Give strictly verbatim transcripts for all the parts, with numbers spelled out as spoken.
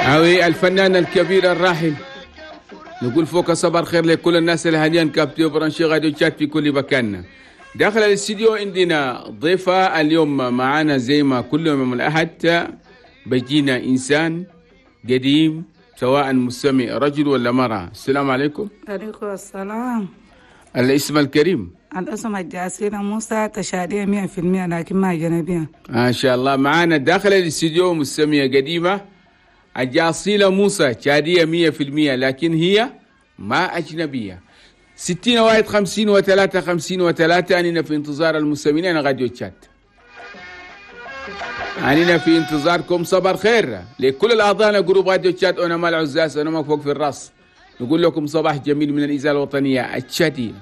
أوي الفنان الكبير الراحل. نقول فوق صباح الخير لكل الناس اللي حاليا captés branchés راديو تشاد في كل مكان. داخل الاستديو عندنا ضيفة اليوم معانا زي ما كل يوم الأحد بيجينا إنسان قديم سواء مستمع رجل ولا مرأة. السلام عليكم. عليكم السلام. الاسم الكريم؟ الاسم الجاسيلة موسى، تشادية مئة في المئة لكن ما أجنبية. ما شاء الله. معانا داخل الاستديو مستمعة قديمة الجاصيلة موسى، تشادية مئة في المئة لكن هي ما أجنبية. ستين واحد خمسين وثلاثة خمسين وثلاثة. أننا في انتظار المستمعين راديو تشاد، أننا في انتظاركم. صباح الخير لكل الأعضاء groupe راديو تشاد. أنا مال عزاز، أنا ما فوق في الراس. نقول لكم صباح جميل من الإذاعة الوطنية التشادية.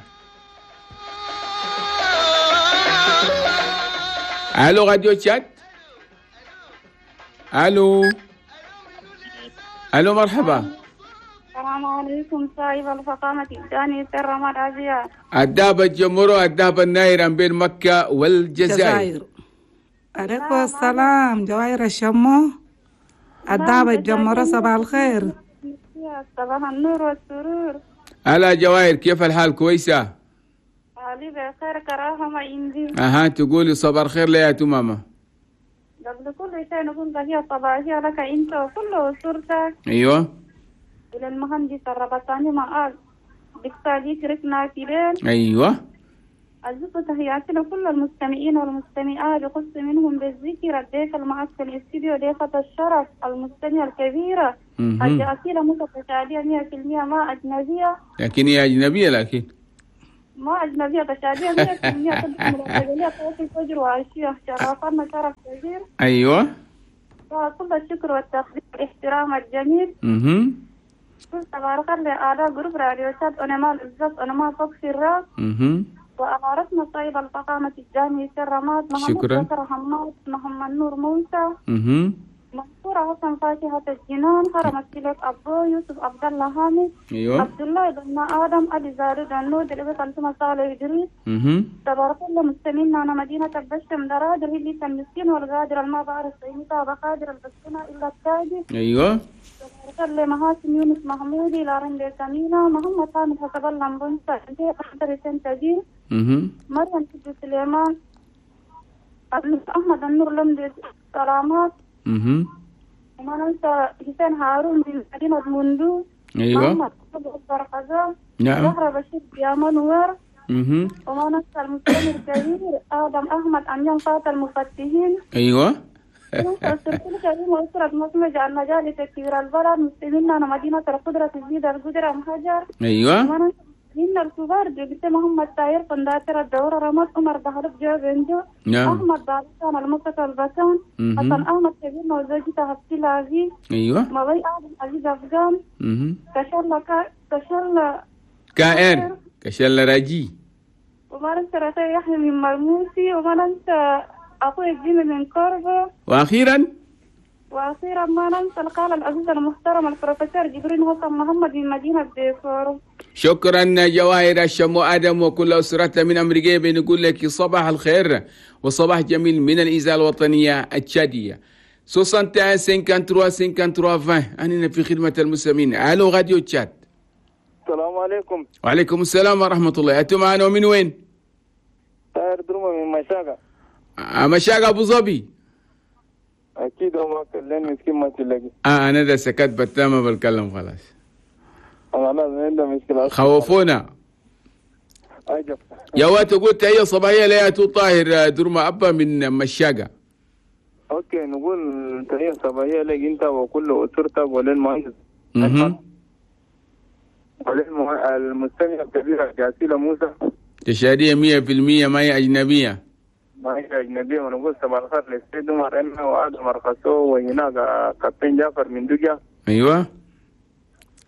ألو راديو تشاد. ألو ألو مرحبا. السلام عليكم صاحب الفخامة الثاني سر مرحبا. الدابة الجمهور الدابة النايرة بين مكة والجزائر. عليكم السلام جواهر الشمو الدابة الجمهور، صباح الخير. صباح النور والسرور. هلا جواهر، كيف الحال؟ كويسة؟ حالي بخير كراهة ما عندي. أها تقولي صباح الخير ليا تماما. قبل كل شيء نقول تحية صباحية لك أنت وكل أسرتك. أيوه. إلى المهندس الربطاني معاذ دكتور كريسنا كيرين. أيوه. أزف تحياتي لكل المستمعين والمستمعات، بخص منهم بالذكر الضيف المعك في الاستديو ضيفة الشرف المستمعة الكبيرة الأصيلة متشادية مئة في المئة ما أجنبية. لكن هي أجنبية، لكن ما أجنبية تشادية مئة في المئة تدخل في الفجر وعشية. شرفنا شرف كبير. أيوه. كل الشكر والتقدير والاحترام الجميل. اها. تبارك الله على groupe راديو تشاد. أنا ما العزاز، أنا ما فوق في الراس. اها. وأمارتنا طيب الفخامة الجامعي سر رماد شكرا. محمد بكر حماد محمد نور موسى اها. منصورة حسن فاكهة الجنان هرم السلك أبو يوسف عبد الله حامد. أيوه. عبد الله بن آدم علي زارد النود اللي بطل صالح إدريس. اها. تبارك الله مستمعين أنا مدينة البشم درادر اللي المسكين والغادر الما بعرف قيمتها بقادر البسكنة إلا التاجي. أيوه. تبارك الله محاسن يونس محمودي لارن سمينة محمد حامد حسب الله مبنسة أحضر سنتجين. اها. مريم سيد سليمان أحمد النور لمدي سلامات. اها. وما ننسى حسين هارون من مدينة مندو. أيوة. محمد أبو نعم. زهرة بشير يا منور. اها. وما ننسى المستمع الكبير آدم أحمد أميان فات المفتحين. أيوة. الكريم وأسرة مصمج عن مجالس كبير البلد مستمعين أنا مدينة القدرة تزيد القدرة مهجر. أيوة. وما ننسى من الكبار دكتور محمد تاير قنداتر الدورة رمض عمر بهرب جو بنجو. نعم. أحمد بالسان المصطفى البسان. حسن أحمد كبير وزوجته حفصي العزيز. أيوة. مضي آدم عزيز أفغان. كشل كشل كائر كشل راجي. وما ننسى رخي يحيى من مرموسي. وما ننسى أخوي الجيمي من كوربو. وأخيرا وأخيرا ما ننسى القال العزيز المحترم البروفيسور جبرين حسن محمد من مدينة ديفورو. شكرا جواهر الشمو آدم وكل أسرتها من أمريكا. بنقول لك صباح الخير وصباح جميل من الإذاعة الوطنية التشادية. واحد وستين ثلاثة وخمسين ثلاثة وعشرين. أننا في خدمة المستمعين. ألو راديو تشاد. السلام عليكم. وعليكم السلام ورحمة الله. أنتم معنا من وين؟ طاهر درمة من مشاقة. مشاقة أبو ظبي. أكيد هو كلين مسكين ما تلاقي. آه أنا ده سكت بتامة بتكلم خلاص. أنا خوفونا. أجب. يا وات قلت تحية صباحية لياتو طاهر درمة أبا من مشاقة. okay نقول تحية صباحية لك أنت وكل أسرتك وللمهندس. اها. وللمستمع الكبير جاسيلة موسى. تشادية مية في المية ما هي أجنبية. ما هي أجنبية. ونقول صباح الخير للسيد عمر إما وآدم أرخصو وهناك كابتن جعفر من دجا. أيوه.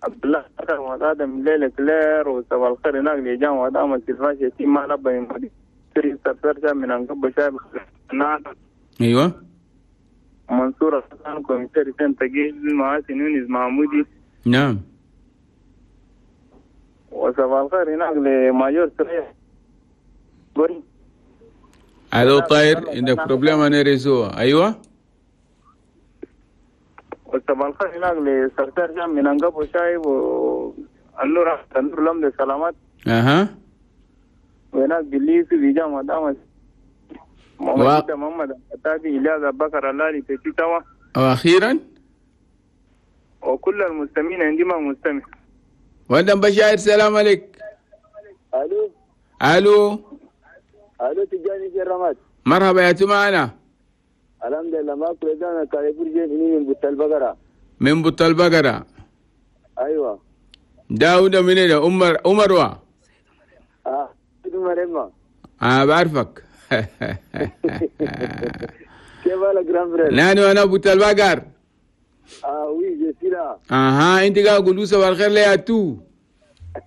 عبد الله وآدم ليلة كلير وصباح الخير هناك لجان وآدم التلفاش يتيم ما لبى من مدينة سرسرشة من أنقب شايب. أيوه. منصور حسن كوميساري سن تقيل معاسي يونس محمودي. نعم. وصباح الخير هناك لماجور سريع. الو طاير عندك problème انا réseau. ايوه. وصباح الخير هناك لسرتار جام من أنقب وشايب والنور النور لمد سلامات. اها. وهناك بالليسي بيجامعة دامس محمد محمد التابي إلياس أبو بكر اللالي في توا. واخيرا وكل المستمعين عندما مستمع. وندم بشاير سلام عليك. الو الو الو تجاني في الرماد. مرحبا يا معنا. الحمد لله ما كل كاريفور جيني من بوت البقرة. من بوت البقرة. ايوه. داود من هنا عمر عمر اه عمر اما اه بعرفك. كيف حالك grand frère؟ نانو انا بوت البقر. اه oui je suis là. اها انت قاعد قولوا صباح الخير ليا تو.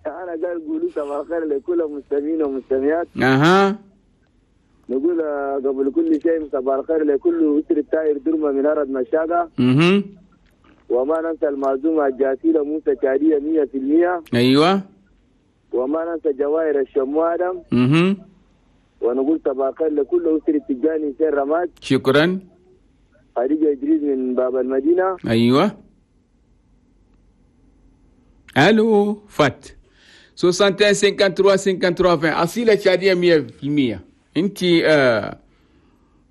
انا قاعد قولوا صباح الخير لكل المستمعين والمستمعات. اها. نقول قبل كل شيء صباح الخير لكل أسرة تاير درمة من أرض مشاقة. اها. وما ننسى المعزومة الجاسيلة موسى كارية مية في المية. ايوه. وما ننسى جواهر الشمو آدم. اها. ونقول صباح الخير لكل أسرة تجاني سير رماد. شكرا. خديجة إدريس من باب المدينة. ايوه. الو فات واحد وستين ثلاثة وثلاثين ثلاثة وعشرين. أصيلة شادية مية في المية. انت آه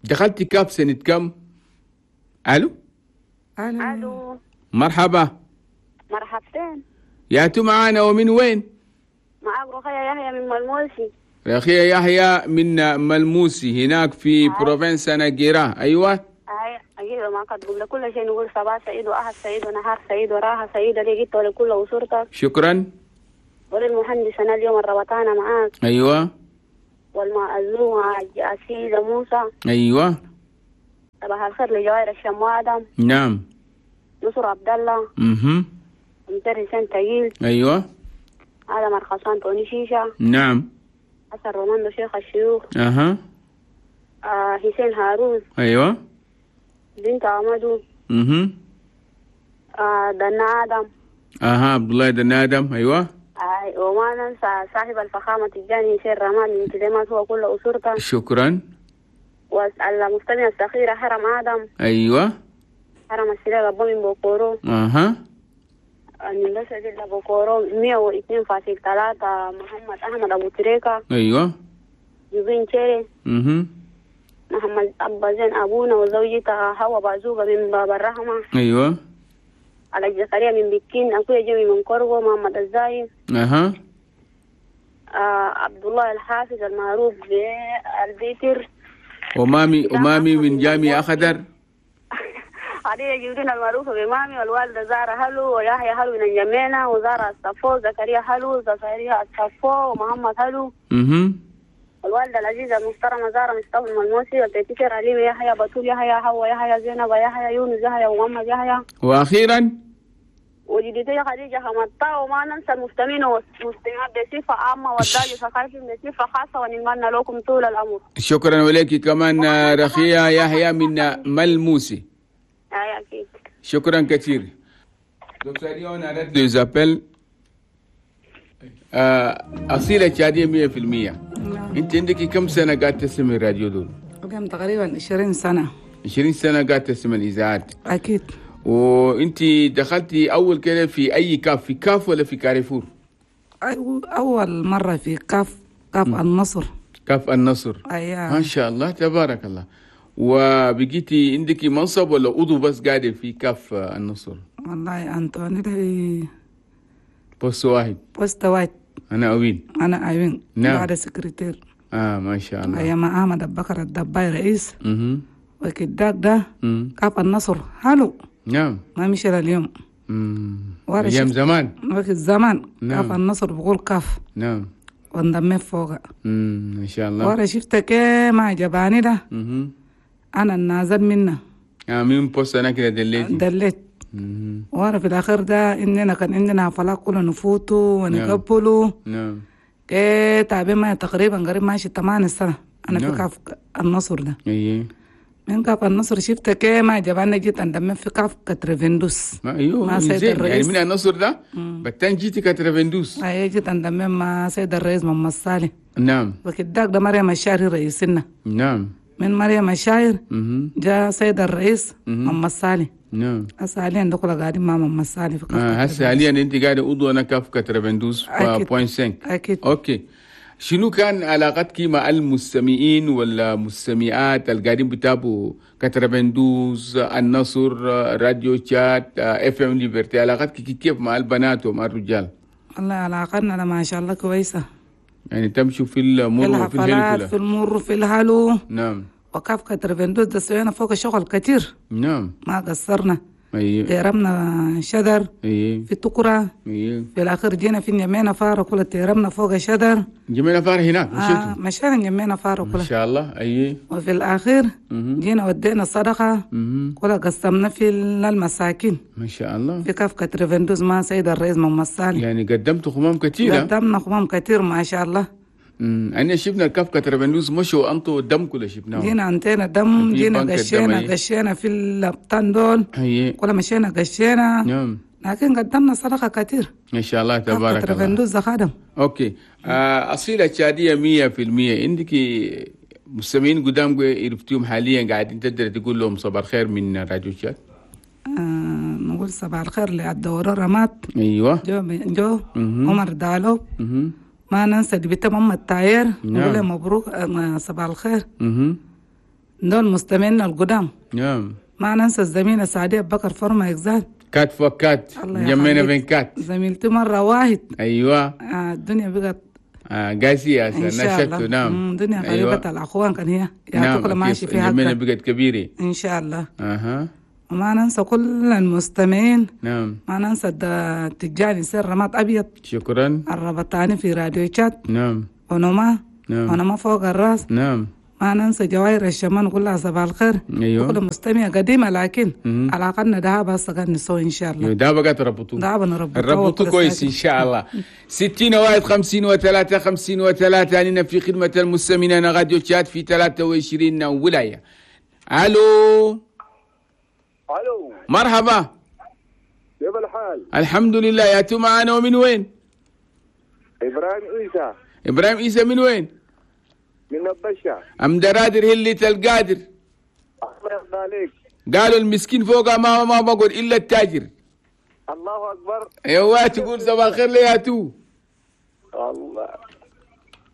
دخلتي كاب سنة كم؟ الو الو الو مرحبا. مرحبتين. يا تو معانا ومن وين؟ معاك رخية يحيى من ملموسي. رخية يحيى من ملموسي هناك في province ناجيرا. ايوه ايوه ما قد قبل كل شيء نقول صباح سعيد واحد سعيد ونهار سعيد وراحة سعيدة ليك ولكل اسرتك. شكرا. وللمهندس انا اليوم الربطانة معاك. ايوه. والمأذون أسيدة موسى. ايوه. صباح الخير لجوائر الشمو آدم. نعم. نصر عبد الله. اها. مدرس تقيل. ايوه. آدم الخصان توني شيشة. نعم. حسن روماندو شيخ الشيوخ. اها. آه حسين هارون. ايوه. بنت عمدو. اها. آه دنا آدم. اها عبد الله دنا آدم. ايوه. آه وما ننسى صاحب الفخامة تجاني سير رمان من كلمات هو كل أسرته. شكرا. والمستمع الصغيرة حرم آدم. ايوه. حرم السلاح أبو من بوكورو. اها. من بس بوكورو مية واثنين فاصل ثلاثة محمد أحمد أبو تريكة. ايوه. جوبين تشيري. اها. محمد أبا زين أبونا وزوجته هوا بازوغة من باب الرحمة. ايوه. على الجزائرية من بكين أخويا جيمي من كورغو محمد الزايد. اها. آه عبد الله الحافظ المعروف بالبيتر. ومامي ومامي من جامع أخضر. علي جودين المعروفة بمامي والوالدة زارة هلو ويحيى هلو من الجمينة وزارة الصفو زكريا هلو زكريا الصفو ومحمد هلو. اها. الوالدة العزيزة المحترمة زارة مصطفى الملموسي والتيتشر عليم يحيى بتول يحيى حوا يحيى زينب يحيى يونس يحيى ومحمد يحيى. واخيرا وجدتي خديجة حمطة. وما ننسى المستمعين والمستمعات بصفة عامة والداجي ثقافي بصفة خاصة ونتمنى لكم طول العمر. شكرا ولك كمان رخية يحيى من ملموسي. اي اكيد. شكرا كثير. دكتور on arrête les appels. أصيلة شادية مية في المية. انت عندك كم سنة قاعد تسمع الراديو دول؟ كم تقريبا عشرين سنة. عشرين سنة قاعد تسمع الإذاعات. أكيد. وانت دخلتي اول كده في اي كاف، في كاف ولا في كاريفور؟ اول مره في كاف، كاف م. النصر. كاف النصر. ايوه ما شاء الله تبارك الله. وبقيتي عندك منصب ولا عضو بس قاعده في كاف النصر؟ والله انطوني ده poste واحد. poste واحد. انا اوين. انا اوين. نعم. بعد سكرتير. اه ما شاء الله. ايام احمد ابو بكر الدباي رئيس. اها. وكداك ده كاف النصر هلو. نعم. ما مشي اليوم. امم ايام زمان. وقت زمان. نعم. كاف النصر بقول كاف. نعم. وانضميت فوق. امم ما شاء الله. ورا شفتك ما عجباني ده. اها. انا النازل منه. اه من poste انا كده دليت. دليت. ورا في الاخير ده اننا كان عندنا حفلات كلنا نفوتوا ونقبلوا. نعم. ايه تعبين ما تقريبا قريب ماشي ثمان سنة انا نعم. في كاف النصر ده. ايه. من كاف النصر شفت كي ما جباني جيت اندمت في كاف كترفندوس. ما ايوه مع سيد زين. الرئيس. يعني من النصر ده بتان جيتي كترفندوس. ايوه جيت اندمت مع سيد الرئيس محمد صالح. نعم. وكداك ده مريم الشاعر رئيسنا. نعم. من مريم الشاعر اها. جاء سيد الرئيس مم. محمد صالح. نعم. هسه حاليا ده كله قاعدين مع ماما الصالح في كفكة. آه هسه حاليا انت قاعدة عضو انا كفكة تربندوز أكيد. فاصلة خمسة. اكيد. okay، شنو كان علاقتك مع المستمعين ولا مستمعات اللي قاعدين بتابعوا كتربندوز، النصر، راديو تشاد، FM Liberté؟ علاقتك كيف مع البنات ومع الرجال؟ والله علاقتنا ما شاء الله كويسة. يعني تمشوا في المر في وفي الهلو الحفلات، كلها. في المر في الهلو. نعم. وكافكة تربندوز ده سوينا فوق شغل كتير. نعم. ما قصرنا. ايوه. تيرمنا شجر. ايوه. في تقرة. ايوه. في الأخير جينا في نجمينا فارة كلها تيرمنا فوق شجر. جمينا فار هناك مشيتوا؟ آه مشينا نجمينا فارة ما كلها. شاء الله. ايوه. وفي الأخير جينا ودينا صدقة كلها قسمنا في المساكين. ما شاء الله. في كافكة تربندوز مع سيد الرئيس محمد صالح. يعني قدمتوا خمام كثيرة. قدمنا خمام كثير ما شاء الله. امم انا شفنا الكافكة تربندوز مشوا انطوا دم كله شفناه. جينا انتينا دم، في جينا بنك الدم، قشينا أي. قشينا في الابطان دول. ايوه. كلها مشينا قشينا. نعم. لكن قدمنا صدقة كثير. ما شاء الله كافكة تبارك الله. تربندوز خادم. okay. آه اصيلة تشاديه مية بالمية. عندك مستمعين قدام عرفتيهم حاليا قاعدين تقدر تقول لهم صباح الخير من راديو تشاد؟ آه نقول صباح الخير للدورة رمات. ايوه. جو جو مهم. عمر دالو. مهم. ما ننسى دي بنت أم التاير. نعم. نقول له مبروك آه، صباح الخير. مهم. دول مستمعينا القدام. نعم. ما ننسى الزميلة سعدية بكر فرما إكزال. كات فوق كات. الله جمينا يخليك. بين كات. زميلتي مرة واحد. ايوه. آه الدنيا بقت آه قاسية إن شاء الله. نعم. مم، الدنيا أيوة. غريبة الأخوان كان هي يا نعم كل ماشي أكيد. فيها جمينا حقها. بقت كبيرة. إن شاء الله. اها. وما ننسى كل المستمعين. نعم. ما ننسى الد- التجاني سر رماد أبيض. شكرا. الربطاني في راديو تشاد. نعم. ونما. نعم. ونما فوق الراس. نعم. ما ننسى جواهر الشمان كلها صباح الخير. أيوة. كل مستمع قديمة لكن مم. علاقتنا ده بس قاعد نسوي إن شاء الله. ده بقى تربطوه. ده بنربطوه ربطوه وكل كويس ساعة. إن شاء الله. ستين واحد خمسين وثلاثة خمسين وثلاثة علينا في خدمة المستمعين أنا راديو تشاد في ثلاثة وعشرين ولاية. ألو. الو. مرحبا. كيف الحال؟ الحمد لله. يا تو معانا ومن وين؟ ابراهيم عيسى. إبراهيم عيسى من وين؟ من نبشة. أم درادر هلة القادر. الله يرضى عليك. قالوا المسكين فوق ما ما بقول إلا التاجر. الله اكبر. ايوه تقول صباح الخير لي يا تو. الله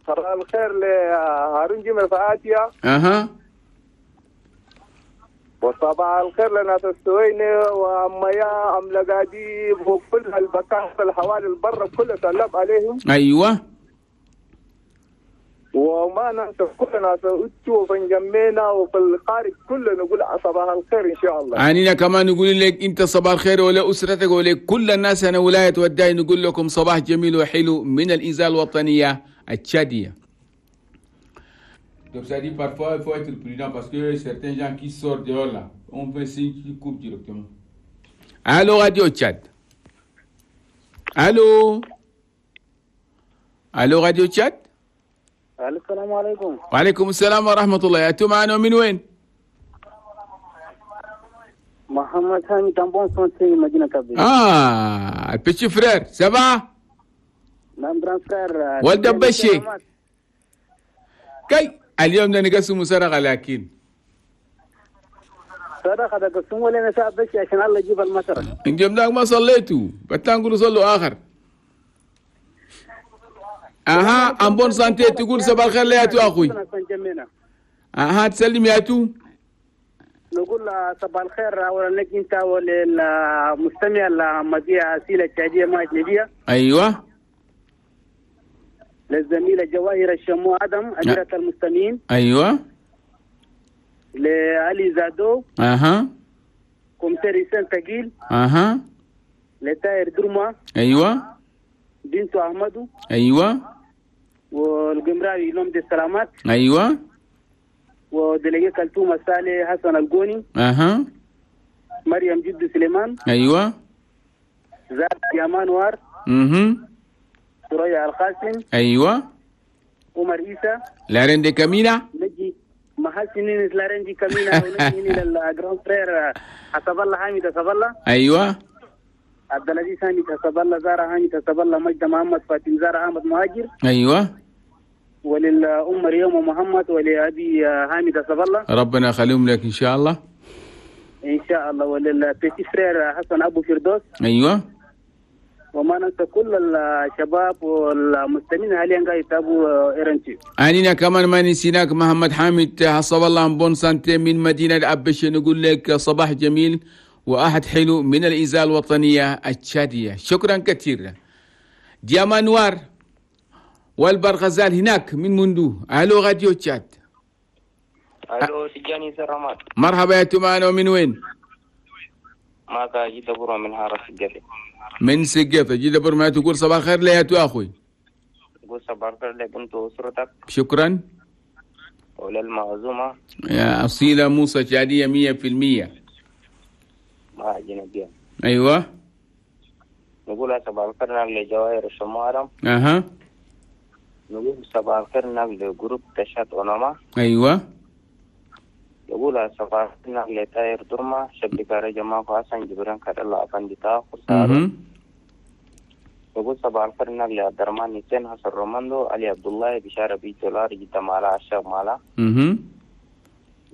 صباح الخير لهارون جمل فاتيا. اها. وصباح الخير لناس السويني وأميا أم لقاديب وكل البكاء في الحوالي البر كله سلم عليهم. ايوه. وما ننسى كل ناس اتو وفنجمينا وفي الخارج كله نقول صباح الخير ان شاء الله. عنينا كمان نقول لك انت صباح الخير ولا اسرتك ولا كل الناس انا ولاية وداي نقول لكم صباح جميل وحلو من الاذاعة الوطنية التشاديه. Donc ça dit parfois il faut être prudent parce que certains gens qui sortent dehors là, on fait signe qui coupe directement. Allô Radio Tchad. Allô. Allô Radio Tchad. السلام عليكم. وعليكم السلام ورحمة الله. يا تو معنا من وين؟ محمد هاني en bonne santé مدينة كابي. اه ال petit frère ça va؟ نعم grand frère. ولد بشي. كي اليوم ده نقسم سرقة لكن صدقة ده قسم ولا نساء بشي عشان الله يجيب المطر. اليوم ده ما صليتوا بتان نقولوا صلوا آخر. اها en bonne santé تقول صباح الخير يا تو اخوي. اها تسلم يا تو. نقول صباح الخير اولا لك انت وللمستمع المذيعة سيلة التشادية ما اجنبية. ايوه. للزميلة جواهر الشمو ادم أميرة المستمعين. ايوه. لعلي زادو. اها. commissaire سان تقيل. اها. لتاير درما. ايوه. بنت احمدو. ايوه. والقمراوي لوم دي السلامات. ايوه. و délégué كلثوم صالح حسن القوني. اها. مريم جد سليمان. ايوه. زاد يامان وار. اها. ثريا القاسم. ايوه. عمر عيسى. لارين دي كامينا. نجي محسنين لارين دي كامينا ونجي لل grand frère حسب الله حامد حسب الله. ايوه. عبد العزيز حامد حسب الله، زارة حامد حسب الله، مجد محمد فاطم زارة احمد مهاجر. ايوه. وللأم مريم محمد ولأبي حامد حسب الله. ربنا يخليهم لك ان شاء الله. ان شاء الله. ولل petit frère حسن ابو فردوس. ايوه. وما ننسى كل الشباب والمستمعين حاليا قاعد يتابعوا R N T. أنينا كمان ما نسيناك محمد حامد حسب الله bonne santé من مدينة أبش، نقول لك صباح جميل وأحد حلو من الإذاعة الوطنية التشادية. شكرا كثير. دياما نوار والبرغزال هناك من مندو. الو راديو تشاد. الو تجاني سلامات. مرحبا يا تمان، ومن وين؟ معك جدة برا من حارة سقيطة. من سقيطة جدة برا. ما تقول صباح الخير لي يا اخوي؟ قول صباح الخير لك انت واسرتك. شكرا. وللمعزومة يا أصيلة موسى شادية مية في المية. مع جنبية. أيوة. نقول صباح الخير لجواهر الشمارة. أها. نقول صباح الخير ل groupe تشاد أوناما. أيوة. نقول صباح الخير لتاير درما شبكة جماعة حسن جبران كر الله أفندي تاخر. نقول صباح الخير لعبد الرحمن حسين حسن روماندو علي عبد الله بشارة بي دولار جدا مالا عشاق مالا.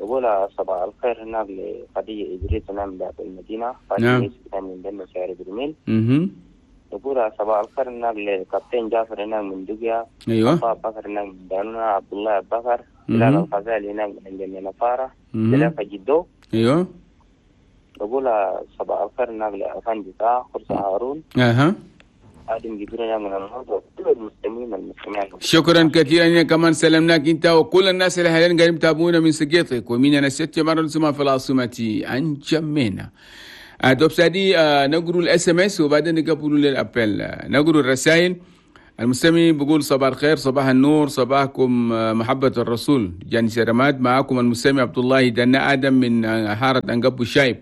نقول صباح الخير هناك لخديجة إدريس نعم لعب المدينة. نعم. من دم شعر برميل. نقول صباح الخير هناك لكابتن جعفر هناك من دقيا. أيوة. أبا بكر هناك من دانونا عبد الله بكر. بلال الغزالي هناك من جنة نفارة. بلال جدو. أيوة. نقول صباح الخير هناك لأفندي خرس هارون. أها. شكرا كثيرا. كمان سلمناك انت وكل الناس اللي حاليا قاعدين يتابعونا من سقيطك ومن انا ست مرة نسمع في العاصمة انجمينا. دوب سادي نقروا ال SMS وبعدين نقبلوا لل appel. نقروا الرسائل. المستمع بيقول صباح الخير، صباح النور، صباحكم محبة الرسول جاني سلامات. معاكم المستمع عبد الله دنا ادم من حارة انقب الشايب.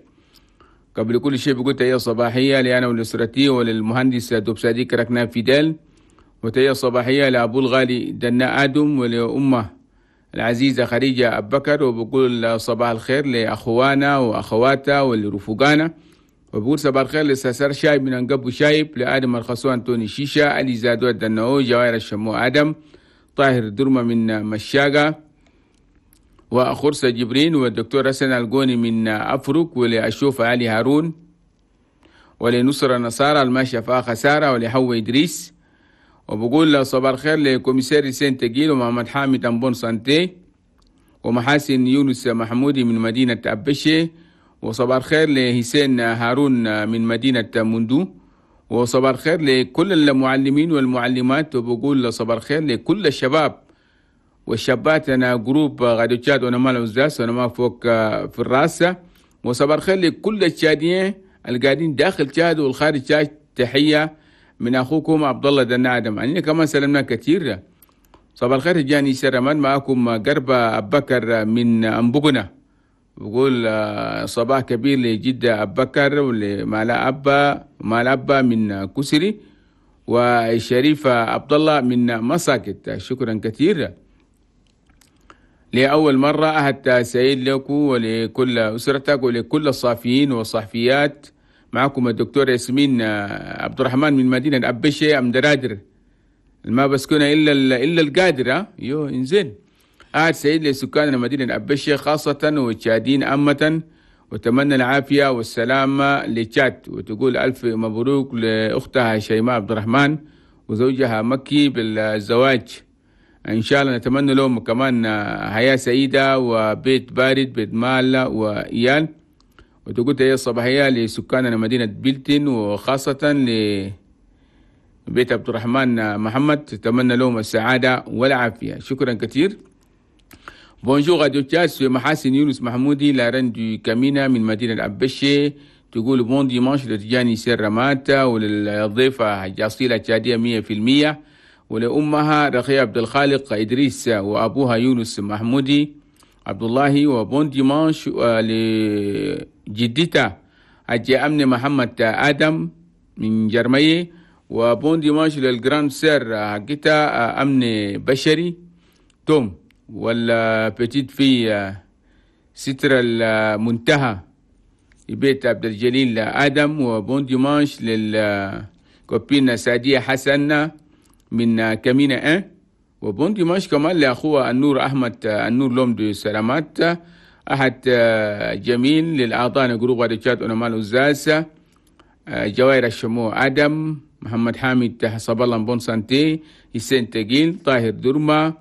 قبل كل شيء بقول تحية صباحية لي أنا ولأسرتي وللمهندس دوب سادي كركنا فيدال، وتحية صباحية لأبو الغالي دنا آدم ولأمه العزيزة خديجة أبكر، وبقول صباح الخير لأخوانا وأخواتا ولرفقانا، وبقول صباح الخير لساسر شايب من أنقب شايب، لآدم الخصوان توني شيشة، علي زادو الدنو، جوائر الشمو آدم، طاهر درمة من مشاقة، وخرسة جبرين، والدكتور حسن القوني من أفرق، ولأشوف علي هارون، ولنصر النصارى الماشية فيها خسارة، ولحو إدريس. وبقول صباح الخير ل commissaire سين تقيل ومحمد حامد en bonne santé، ومحاسن يونس محمودي من مدينة أبشي، وصباح الخير لحسين هارون من مدينة مندو، وصباح الخير لكل المعلمين والمعلمات، وبقول صباح الخير لكل الشباب والشابات. أنا groupe غادي تشاد وأنا مال وزاس وأنا ما فوق في الراس. وصباح الخير لكل التشاديين القاعدين داخل تشاد والخارج تشاد. تحية من أخوكم عبد الله دنا آدم. أنا كمان سلمنا كثير. صباح الخير جاني سرمان، معكم قربة أبكر من أنبقنا. بقول صباح كبير لجدة أبكر ولمالا أبا مالا أبا من كسري، وشريفة عبد الله من مساكت. شكرا كثير. لأول مرة أهد سعيد لكم ولكل أسرتك ولكل الصحفيين والصحفيات. معكم الدكتور ياسمين عبد الرحمن من مدينة أبشي أم درادر، ما بسكنها إلا إلا القادرة. يو إنزين. أهد سعيد لسكان مدينة أبشي خاصة والتشادين عامة، وتمنى العافية والسلامة لتشاد. وتقول ألف مبروك لأختها شيماء عبد الرحمن وزوجها مكي بالزواج. إن شاء الله نتمنى لهم كمان حياة سعيدة وبيت بارد، بيت مال وإيال. وتقول تحية الصباحية لسكان مدينة بلتن وخاصة لبيت عبد الرحمن محمد، تتمنى لهم السعادة والعافية. شكرا كثير. Bonjour Radio Tchad, c'est محاسن يونس محمودي la reine du كامينا من مدينة أبشي. تقول bon dimanche لتجاني سير رماتا وللضيفة جاصيلة تشادية مية في المية، ولأمها رخية عبد الخالق إدريس وأبوها يونس محمودي عبد الله. و bon dimanche لجدتها حجة أمن محمد آدم من جرمية. و bon dimanche لل grande sœur حقتها أمن بشري توم، ولا petite fille ستر المنتهى بيت عبد الجليل آدم. و bon dimanche لل copine سعدية حسن من كمينة un. و bon dimanche كمان لأخوه النور أحمد النور l'homme de سلامات. أحد جميل للأعضاء groupe راديو تشاد أونما الأزاز، جوائر الشموع آدم، محمد حامد حسب الله bonne santé، حسين تقيل، طاهر درما،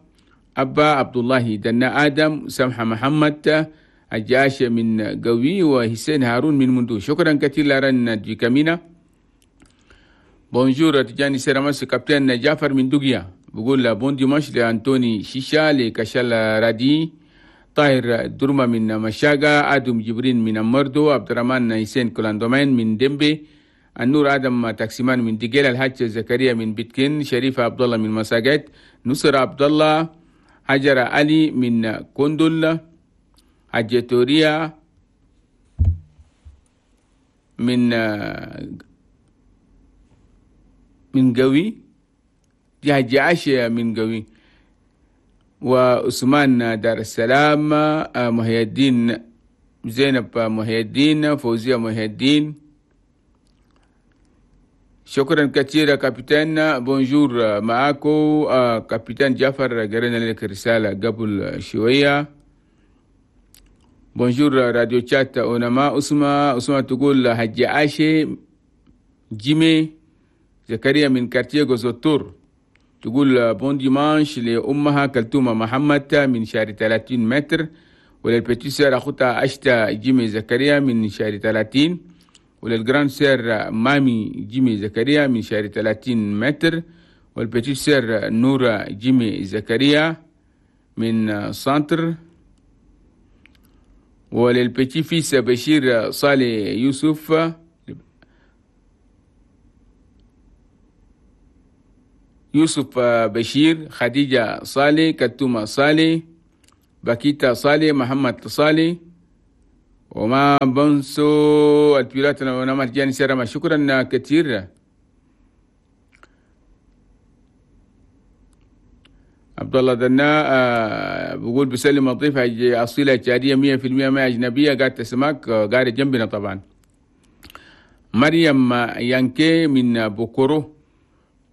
أبا عبد الله دنا آدم، سمحة محمد الجاشة من قوي، وحسين هارون من مندو. شكرا كثير لارن دي كامينا. bonjour تجاني سيرامس capitaine جعفر من دوغيا بقول bon dimanche لأنتوني شيشا، لكشال رادي، طاهر درما من مشاقة، آدم جبرين من مردو، عبد الرحمن حسين كولاندومين من ديمبي، النور آدم تاكسيمان من ديجيل، الحاج زكريا من بيتكين، شريفة عبد الله من مساجد، نصر عبد الله، هجر علي من كوندول، حاج توريا من من قوي، دي حاج عاشة من قوي، وعثمان دار السلام، محي الدين، زينب محي الدين، فوزية محي الدين. شكرا كثيرا capitaine. bonjour معاكو capitaine جعفر، قرينا لك رسالة قبل شوية. bonjour راديو تشات أونما. أسمة أسمة تقول حجي عاشي جيمي زكريا من quartier غوزوتور، تقول bon dimanche لأمها كلتومة محمد من شارع ثلاثين متر، ولل petite sœur أخوتها أشتا جيمي زكريا من شارع ثلاثين، ولل grande sœur مامي جيمي زكريا من شارع ثلاثين متر، وال petite sœur نورة جيمي زكريا من centre، ولل petit-fils بشير صالح يوسف يوسف بشير، خديجة صالح، كتومة صالح، باكيتا صالح، محمد صالح، وما بنسو البيلات ونما جاني سيرما. شكرا كثير عبد الله دنا. بقول بسلم الضيف أصيلة تشادية مية في المية ما أجنبية، قاعد تسمعك قاعد جنبنا طبعا. مريم يانكي من بوكورو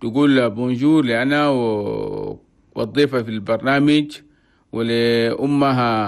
تقول bonjour لأنا والضيفة في البرنامج ولأمها